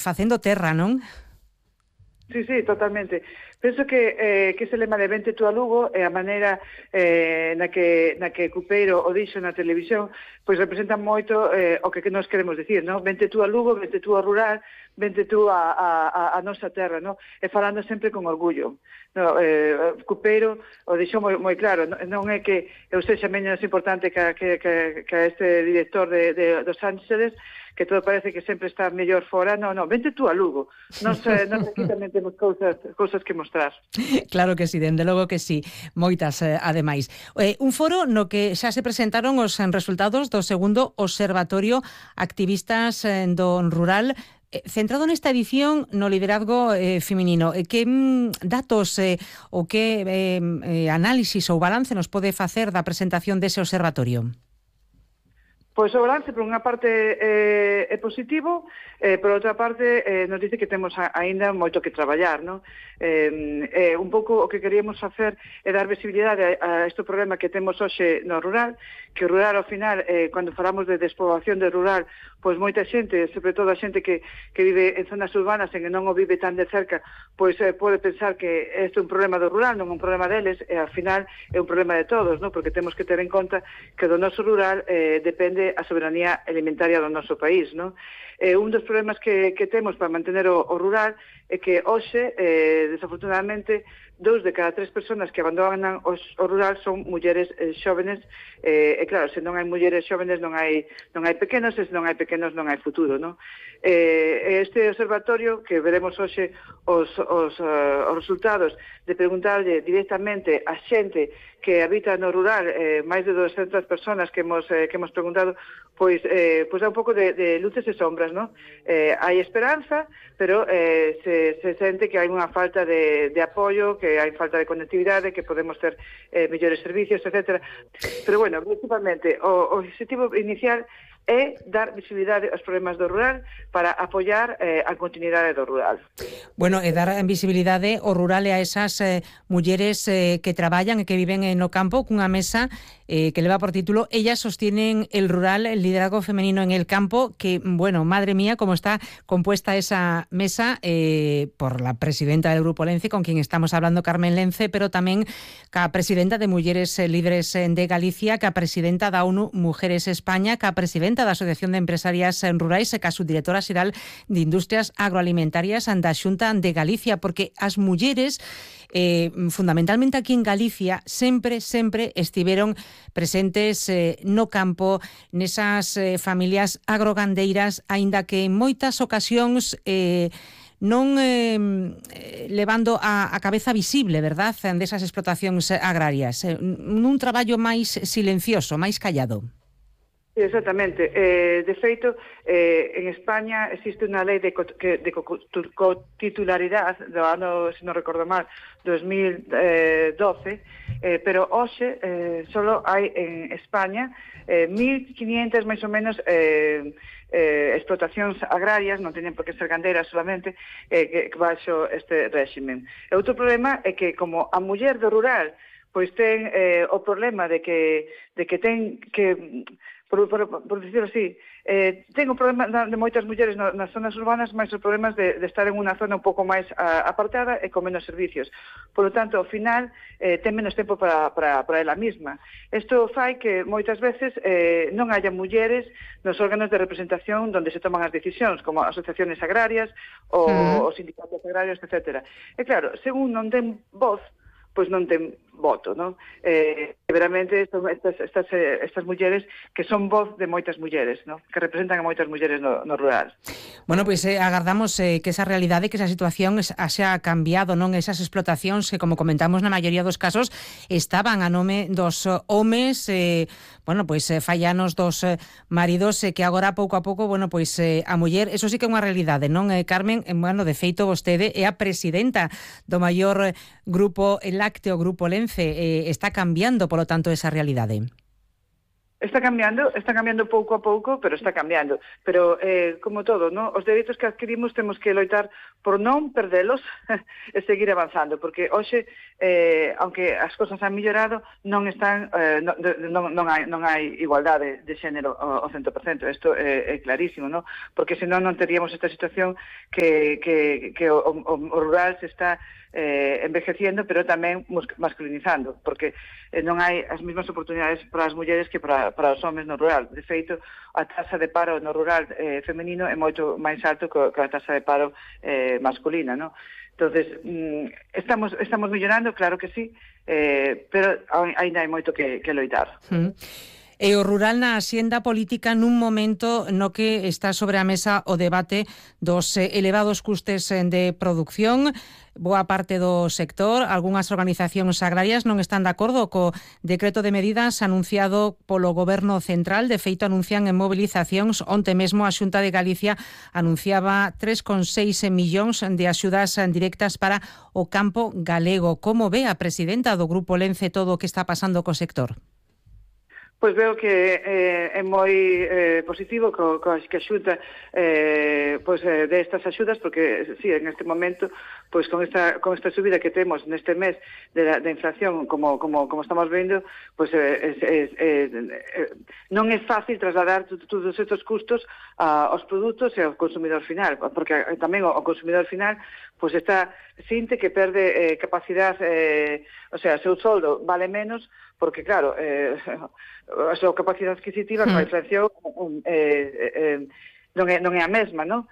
facendo terra, non? Sí, sí, totalmente. Penso que ese lema de vente tú a Lugo e a maneira na que Cupeiro o dixo na televisión, pois representa moito o que nos queremos dicir, non? Vente tú a Lugo, vente tú a rural, vente tú a nosa terra, non? E falando sempre con orgullo. No, Cupeiro o dixo moi claro, non é que eu sexa menos importante que este director dos Ángeles, que todo parece que sempre está mellor fora. Non, vente tú a Lugo. Nos aquí tamén temos cousas que mostrar. Claro que sí, dende logo que sí. Moitas, ademais. Un foro no que xa se presentaron os resultados do segundo Observatorio Activistas do Rural, centrado nesta edición no liderazgo feminino. Que datos ou que análisis ou balance nos pode facer da presentación dese observatorio? Pois o balance, por unha parte, é positivo, por outra parte, nos dice que temos aínda moito que traballar, non? Un pouco o que queríamos facer é dar visibilidade a este problema que temos hoxe no rural, que o rural, ao final, cando falamos de despoblación de rural, pois moita xente, sobre todo a xente que vive en zonas urbanas e que non o vive tan de cerca, pois pode pensar que este é un problema do rural, non un problema deles, e ao final é un problema de todos, non? Porque temos que ter en conta que do noso rural depende a soberanía alimentaria do noso país, non? Un dos problemas que temos para mantener o rural é que hoxe, desafortunadamente, 2 de cada 3 personas que abandonan o rural son mulleres xóvenes, e claro, se non hai mulleres xóvenes non hai pequenos, e se non hai pequenos non hai futuro, non? Este observatorio, que veremos hoxe os resultados de preguntarlle directamente a xente que habita no rural, máis de 200 personas que hemos preguntado, pois dá un pouco de luces e sombras, non? Hai esperanza, pero se sente que hai unha falta de apoio, que hai falta de conectividade, que podemos ter mellores servicios, etc. Pero, bueno, principalmente, o objetivo inicial é dar visibilidade aos problemas do rural para apoiar a continuidade do rural. Bueno, e dar visibilidade ao rural e a esas mulleres que traballan e que viven no campo cunha mesa que leva por título Ellas sostienen el rural, el liderazgo femenino en el campo, que, bueno, madre mía, cómo está compuesta esa mesa por la presidenta del Grupo Lence, con quien estamos hablando, Carmen Lence, pero tamén ca presidenta de Mulleres Líderes de Galicia, ca presidenta da ONU Mujeres España, ca presidenta da Asociación de Empresarias Rurais e ca subdirectora xeral de Industrias Agroalimentarias da Xunta de Galicia, porque as mulleres fundamentalmente aquí en Galicia sempre estiveron presentes no campo, nesas familias agrogandeiras, aínda que en moitas ocasións non levando a cabeza visible, verdad, desas explotacións agrarias, nun traballo máis silencioso, máis callado. Exactamente. De feito, en España existe unha lei de cotitularidade do ano, se non recordo mal, 2012, pero hoxe solo hai en España 1.500 máis ou menos explotacións agrarias, non teñen por que ser gandeiras solamente, que baixo este réximen. E outro problema é que, como a muller do rural pois ten o problema de que ten que, por dicirlo así, ten o problema de moitas mulleres nas zonas urbanas, máis os problemas de estar en unha zona un pouco máis apartada e con menos servicios. Por lo tanto, ao final, ten menos tempo para ela mesma. Isto fai que moitas veces non haya mulleres nos órganos de representación onde se toman as decisións, como asociaciones agrarias ou os sindicatos agrarios, etc. E claro, según non ten voz, pois non ten voto, non? Veramente estas mulleres que son voz de moitas mulleres, non? Que representan a moitas mulleres no rural. Bueno, pois agardamos que esa realidade, que esa situación xa cambiado, non? Esas explotacións que, como comentamos, na maioría dos casos estaban a nome dos homes, bueno, pois fallanos dos maridos, que agora pouco a pouco, bueno, pois a muller, eso sí que é unha realidade, non, Carmen? Bueno, de feito, vostede é a presidenta do maior grupo lácteo, Grupo Lence, está cambiando, polo tanto, esa realidade. Está cambiando pouco a pouco, pero está cambiando. Pero, como todo, ¿no? Os dereitos que adquirimos temos que loitar por non perdelos e seguir avanzando, porque hoxe, aunque as cosas han mellorado, non hai igualdade de xénero ao 100%. Isto é clarísimo, ¿no? Porque senón non teríamos esta situación que o rural se está envejeciendo, pero tamén masculinizando, porque non hai as mesmas oportunidades para as mulleres que para os homens no rural. De feito, a taxa de paro no rural femenino é moito máis alto que a taxa de paro masculina, ¿no? Entonces, estamos mellorando, claro que sí, pero ainda hai moito que loitar. E o rural na axenda política nun momento no que está sobre a mesa o debate dos elevados custes de producción. Boa parte do sector, algunhas organizacións agrarias non están de acordo co decreto de medidas anunciado polo Goberno Central. De feito, anuncian en mobilizacións. Onte mesmo a Xunta de Galicia anunciaba 3,6 millóns de axudas directas para o campo galego. Como ve a presidenta do Grupo Lence todo o que está pasando co sector? Pois veo que é moi positivo que a Xunta de estas axudas, porque sí, en este momento, pois con esta subida que temos neste mes de inflación, como estamos vendo, pois non é fácil trasladar todos estes custos aos produtos e ao consumidor final, porque tamén o consumidor final pois sinte que perde capacidade, o sea, seu soldo vale menos, porque claro, a súa capacidade adquisitiva con a inflación non é a mesma, non?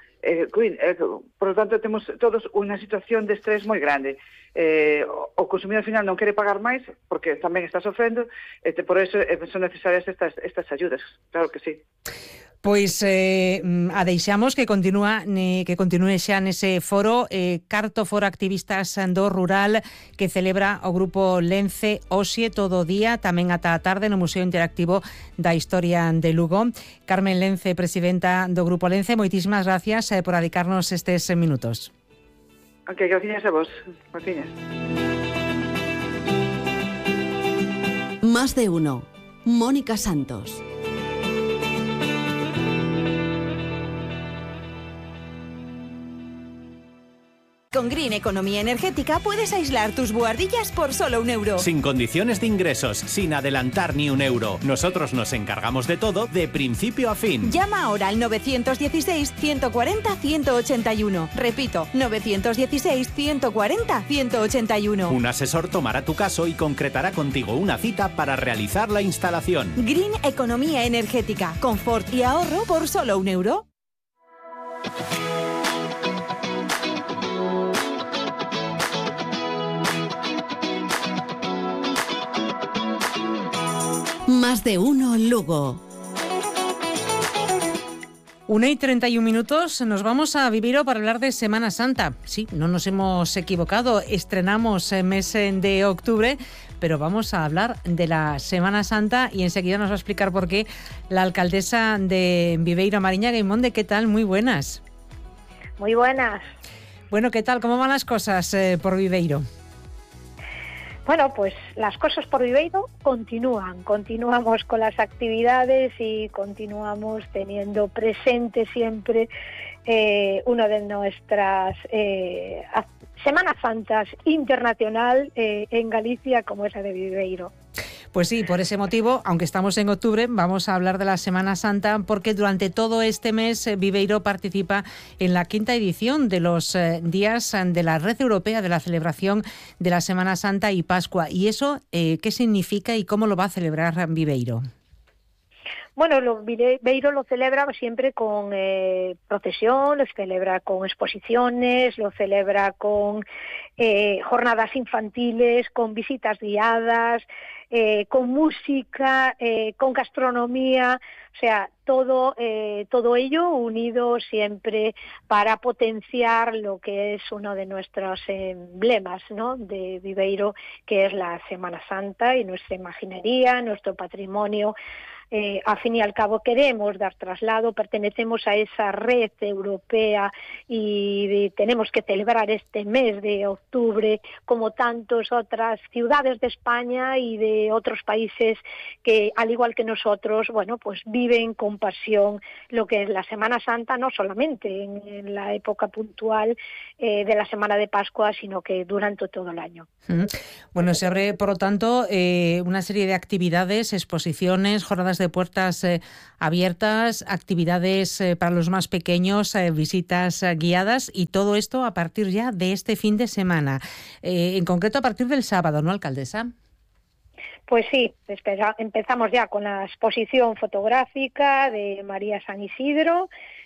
Por lo tanto, temos todos unha situación de estrés moi grande. O consumidor final non quere pagar máis porque tamén está sofrendo, por eso son necesarias estas ayudas, claro que sí. Pois a deixamos que continúe xa nese foro, Carto Foro Activistas do Rural, que celebra o Grupo Lence hoxe todo o día, tamén ata a tarde no Museo Interactivo da Historia de Lugo. Carmen Lence, presidenta do Grupo Lence, moitísimas gracias por dedicarnos estes minutos. Ok, gracias a vos. Gracias. Más de uno. Mónica Santos. Con Green Economía Energética puedes aislar tus buhardillas por solo €1. Sin condiciones de ingresos, sin adelantar ni €1. Nosotros nos encargamos de todo, de principio a fin. Llama ahora al 916-140-181. Repito, 916-140-181. Un asesor tomará tu caso y concretará contigo una cita para realizar la instalación. Green Economía Energética. Confort y ahorro por solo €1. Más de uno Lugo. 1:31, nos vamos a Viveiro para hablar de Semana Santa. Sí, no nos hemos equivocado, estrenamos mes de octubre, pero vamos a hablar de la Semana Santa y enseguida nos va a explicar por qué la alcaldesa de Viveiro, Mariña Gaimonde. ¿Qué tal? Muy buenas. Muy buenas. Bueno, ¿qué tal? ¿Cómo van las cosas por Viveiro? Bueno, pues las cosas por Viveiro continuamos con las actividades y continuamos teniendo presente siempre una de nuestras Semanas Santas internacional en Galicia, como es la de Viveiro. Pues sí, por ese motivo, aunque estamos en octubre, vamos a hablar de la Semana Santa, porque durante todo este mes Viveiro participa en la 5ª edición de los días de la Red Europea de la celebración de la Semana Santa y Pascua. ¿Y eso qué significa y cómo lo va a celebrar Viveiro? Bueno, Viveiro lo celebra siempre con procesión, lo celebra con exposiciones, lo celebra con jornadas infantiles, con visitas guiadas, con música, con gastronomía, o sea, todo ello unido siempre para potenciar lo que es uno de nuestros emblemas, ¿no?, de Viveiro, que es la Semana Santa y nuestra imaginería, nuestro patrimonio a fin y al cabo queremos dar traslado, pertenecemos a esa red europea y tenemos que celebrar este mes de octubre como tantas otras ciudades de España y de otros países que, al igual que nosotros, bueno, pues viven con pasión lo que es la Semana Santa, no solamente en la época puntual de la Semana de Pascua, sino que durante todo el año. Bueno, se abre, por lo tanto, una serie de actividades, exposiciones, jornadas de puertas abiertas, actividades para los más pequeños, visitas guiadas, y todo esto a partir ya de este fin de semana. En concreto, a partir del sábado, ¿no, alcaldesa? Pues sí, empezamos ya con la exposición fotográfica de María San Isidro,